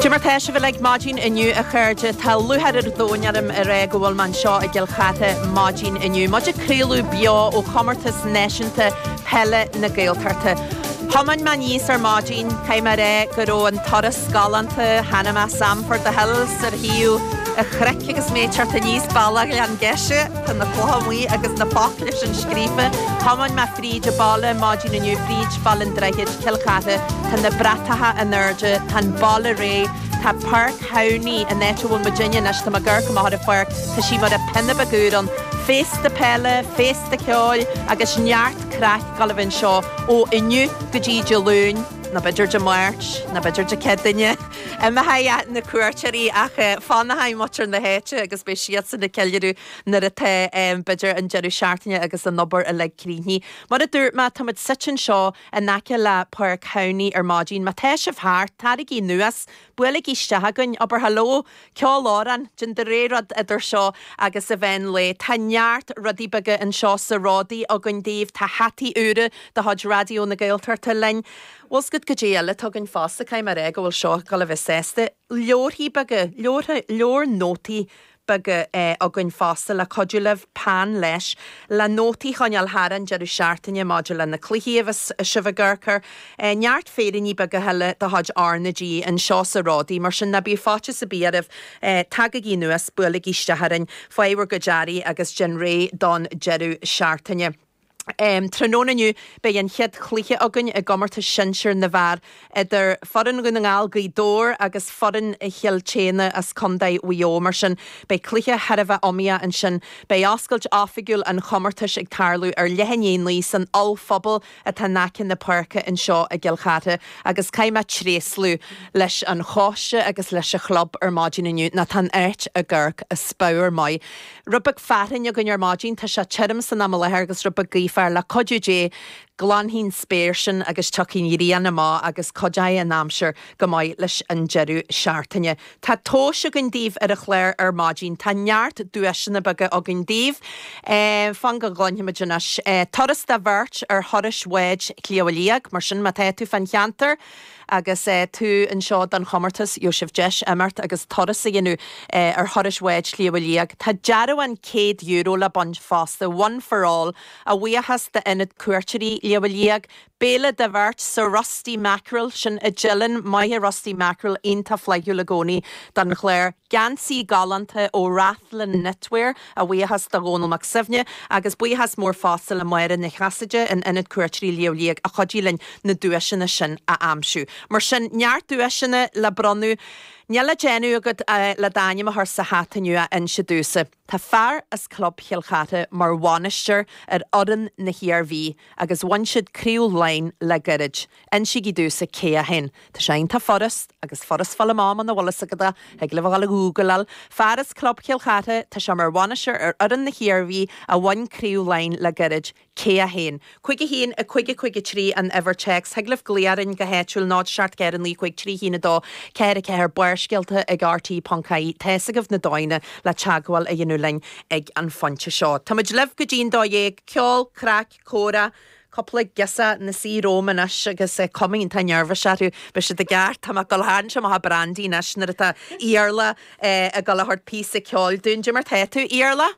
Cad é mar tá sibh uilig maidin inniu a chairde. Tá lúcháir an domhain orm a rá go bhfuil mé anseo i gCill Chartha maidin inniu. Muid ag craoladh beo ó Chomórtas Náisiúnta Peile na Gaeltachta. Thiomáin mé aníos ar maidin, caithfidh mé a rá go raibh an turas galánta, chonaic mé Sam for the Hills ar thaobh an chnoic agus mé ag teacht aníos bealach Ghleann Geise, tá na clocha amuigh agus na focla sin scríofa. Thiomáin mé fríd an baile maidin inniu, fríd Baile an Droichid, Cill Chartha, tá na bratacha in airde, tá an baile réidh, tá Páirc Thamhnaigh, an áit a bhfuil muidinne anois, tá mé ag amharc amach ar an pháirc, tá sí mar a pionna beag úr ann. Féasta peile, féasta ceoil agus neart craic ag dul a bheith anseo ó inniu go dtí Dé Luain, nó b'fhéidir Dé Máirt, nó b'fhéidir Dé Céadaoine. Imeoidh na cuairteoirí ach fanfaidh muintir na háite agus beidh siadsan ag ceiliúradh nuair atá, b'fhéidir, an deireadh seachtaine agus an obair uilig críochnaithe. Mar a dúirt mé, táimid suite anseo in aice le Páirc Thamhnaigh ar maidin. Má tá sibh thart, taraigí anuas, buailigí isteach chugainn, abair hello, ceol amhrán, déan do rogha rud idir seo agus an mheán lae. Tá neart rudaí beaga anseo sa Ródaí againn daoibh, tá hataí úra de chuid Raidió na Gaeltachta linn. Bhfuil 's agat goidé eile atá againn fosta, caithfidh mé a rá go bhfuil seo ag dul a bheith sásta. Leabharthaí beaga, leabhartha, leabhar nótaí beaga againn fosta le cuidiú libh, peann leis, le nótaí a choinneáil thar an deireadh seachtaine maidir le na cluichí a bheas sibh ag amharc air. Neart féiríní beaga eile de chuid R na G anseo sa Ródaí, mar sin ná bíodh faitíos ar bith oraibh, tagaigí anuas, buailigí isteach orainn, faigh bhur gcuid earraí agus déan réidh don deireadh seachtaine. Tráthnóna inniu beidh an chéad chluiche againn i gcomórtas sinsir na bhfear idir foireann Dhún na nGall, Gaoth Dobhair agus foireann Chill tSéadhna as Contae Mhaigh Eo. Mar sin beidh cluiche thar a bheith iomaíoch ansin. Beidh oscailt oifigiúil an chomórtais ag tarlú ar leath i ndiaidh 9 san ollphuball atá in aice na páirce anseo i gCill Chartha agus caithfidh mé tréaslú leis an choiste agus leis an chlub ar maidin inniu nó tá an áit ag amharc as pabhar maith. Rud beag fearthainn againn ar maidin, tá sé tirim san am i láthair agus rud beag gaothmhar, le cuidiú Dé, glanfaidh an spéir sin agus tiocfaidh an ghrian amach agus cuideoidh an aimsir go maith leis an deireadh seachtaine. Tá tomhais againn daoibh ar an chlár ar maidin. Tá neart duaiseanna beaga againn daoibh. Fan go gcluinfimid anois. Turas do bheirt ar thurais bháid Shliabh Liag, mar sin má tá tú fán cheantar, Agus tú anseo don chomórtas, gheobhaidh sibh deis imeacht agus turas a dhéanamh ar thurais bháid Shliabh Liag. Tá dearbhán €100 le baint fosta, One for All, a bhuíochas d'Ionad Cuairteoirí Shliabh Liag. Béile do bheirt sa Rusty Mackerel, sin i dTeileann, maith an Rusty Mackerel, iontach flaithiúil i gcónaí don chlár. Geansaí galánta ó Rathlin Knitwear, a bhuíochas do Dhónal Mac Suibhne, agus buíochas mór fosta le Máire Nic Chasaide in Ionad Cuairteoirí Shliabh Liag a chuidigh linn na duaiseanna sin a aimsiú. Mar sin, neart duaiseanna le bronnadh. Níl le déanamh agat le d'ainm a chur sa hata inniu ach inse domhsa. Tá fear as Club Chill Chartha mar bhainisteoir ar fhoireann na hIarmhí agus bhain siad Craobh Laighean le gairid. Insígí domhsa cé é féin. Tá sé iontach furast, agus furast fáil amach muna bhfuil fhios agat é, thig libh a dhul a ghúgláil. Fear as Club Chill Chartha, tá sé mar bhainisteoir ar fhoireann na hIarmhí a bhain Craobh Laighean le gairid. Cé é féin? 5 1 5 5 3 an uimhir téacs. Thig libh glaoch orainn go háitiúil 0 7 4 9 5 3 1 2 4 4 Barrscéalta ag RTÉ.ie. Tá's agaibh na dóigheanna le teagmháil a dhéanamh linn ag an phointe seo. Táimid libh go dtí an 12:00. Ceol, craic, comhrá, cúpla girseach ina suí romham anois agus cuma iontach neirbhíseach orthu. Beidh siad i gceart. Tá mé ag dul a tharraingt amach an brandy anois nuair atá Iarla ag dul a thabhairt píosa ceoil dúinn. Cad é mar tá tú, Iarla?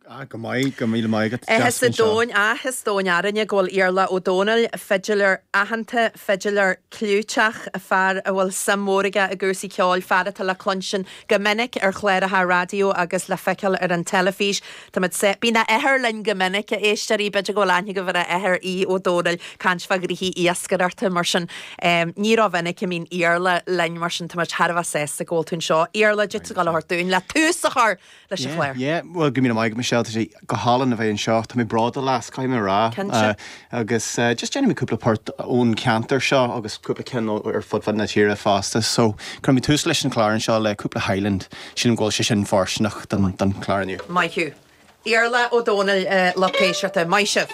Ah, go maith, go míle maith agat. Áthas an domhain, áthas domhain orainne go bhfuil Iarla Ó Dónaill, fidiléir aitheanta, fidiléir clúiteach, fear a bhfuil suim mhór aige i gcúrsaí ceoil, fear atá le cluinstin go minic ar chláracha raidió agus le feiceáil ar an teilifís. Táimid sa. Bíonn a athair linn go minic, a éisteoirí, b'fhéidir go bhfuil aithne agaibh ar a athair, Aodh Ó Dónaill, caint fá ghnoithí iascaireachta, mar sin. Ní rómhinic a mbíonn Iarla linn, mar sin táimid thar a bheith sásta go bhfuil tú anseo. Iarla, cad é tá tú ag dul a thabhairt dúinn le tús a chur leis an chlár. Yeah, yeah, bhuel, go míle maith agat, Michelle, tá sé go hálainn a bheith anseo, tá mé bródúil as, caithfidh mé a rá. Cinnte. Agus just déanfaidh mé cúpla port ón cheantar seo agus cúpla ceann ar fud fad na tíre fosta. So, cuirfidh mé tús leis an chlár anseo le cúpla Highland. Sílim go bhfuil sé sin fóirsteanach don chlár inniu. Maith thú. Iarla Ó Dónaill, lucht éisteachta. Maith sibh.